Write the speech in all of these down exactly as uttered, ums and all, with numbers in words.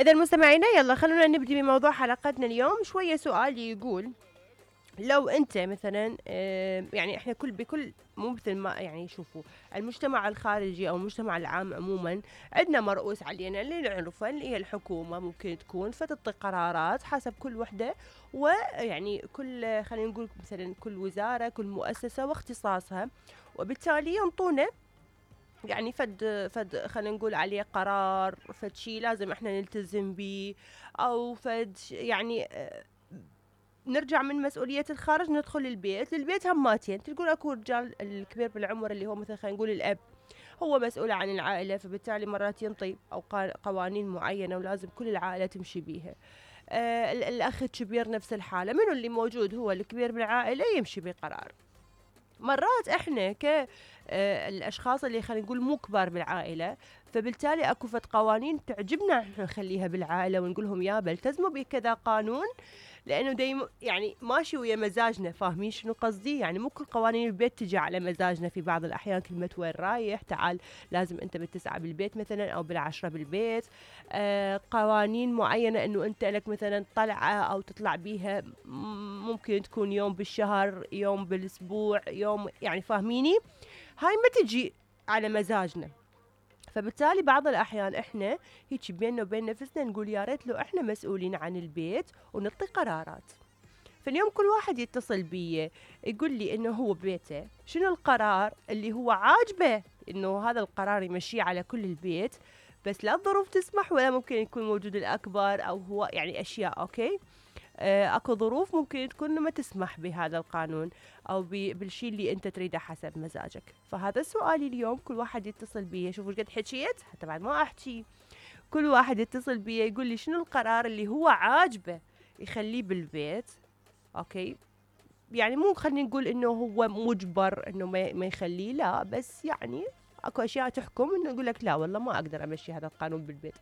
إذا مستمعينا يلا خلونا نبدي بموضوع حلقتنا اليوم. شوية سؤال يقول لو أنت مثلا آه، يعني إحنا كل بكل مو مثل ما يعني شوفوا المجتمع الخارجي أو المجتمع العام عموما عندنا مرؤوس علينا اللي نعرفه اللي هي الحكومة، ممكن تكون فتعطي قرارات حسب كل وحدة، ويعني كل خلينا نقول مثلا كل وزارة كل مؤسسة واختصاصها، وبالتالي ينطونا يعني فد فد خلينا نقول عليه قرار، فد شي لازم احنا نلتزم به، او فد يعني آه، نرجع من مسؤولية الخارج ندخل البيت. للبيت هماتين تقول اكو رجال الكبير بالعمر اللي هو مثلا خلينا نقول الاب هو مسؤول عن العائلة، فبالتالي مرات ينطي او قوانين معينة ولازم كل العائلة تمشي بيها. آه الاخ الكبير نفس الحالة، منو اللي موجود هو الكبير بالعائلة يمشي بقرار. مرات احنا ك آه الاشخاص اللي خلينا نقول مو كبار بالعائله، فبالتالي اكو فد قوانين تعجبنا احنا نخليها بالعائله ونقول لهم يابا التزموا بكذا قانون، لانه دايم يعني ماشي ويا مزاجنا. فاهمين شنو قصدي؟ يعني مو كل قوانين البيت تجي على مزاجنا، في بعض الاحيان كلمه وين رايح، تعال لازم انت بالتسعه بالبيت مثلا او بالعشره بالبيت. آه قوانين معينه انه انت لك مثلا طلعه او تطلع بيها ممكن تكون يوم بالشهر يوم بالاسبوع يوم، يعني فاهميني؟ هاي ما تجي على مزاجنا. فبالتالي بعض الأحيان إحنا هيك بيننا وبين نفسنا نقول يا ريت لو إحنا مسؤولين عن البيت ونعطي قرارات. فاليوم كل واحد يتصل بي يقول لي إنه هو ببيته شنو القرار اللي هو عاجبه إنه هذا القرار يمشيه على كل البيت، بس لا الظروف تسمح ولا ممكن يكون موجود الأكبر أو هو يعني أشياء أوكي. آه، اكو ظروف ممكن تكون ما تسمح بهذا القانون او بالشيء اللي انت تريده حسب مزاجك. فهذا سؤالي اليوم، كل واحد يتصل بي شوفوا قد حكيت حتى بعد ما احكي، كل واحد يتصل بي يقول لي شنو القرار اللي هو عاجبه يخليه بالبيت. اوكي يعني مو خلينا نقول انه هو مجبر انه ما يخليه، لا، بس يعني اكو اشياء تحكم انه يقول لك لا والله ما اقدر امشي هذا القانون بالبيت.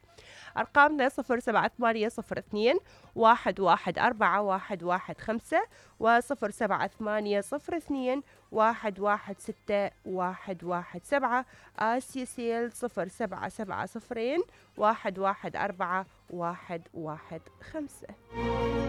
ارقامنا صفر سبعة ثمانية صفر اثنين واحد واحد أربعة واحد واحد خمسة وصفر سبعة ثمانية صفر اثنين واحد واحد ستة واحد واحد سبعة. آسيا سيل صفر سبعة سبعة صفرين واحد واحد أربعة واحد واحد خمسة.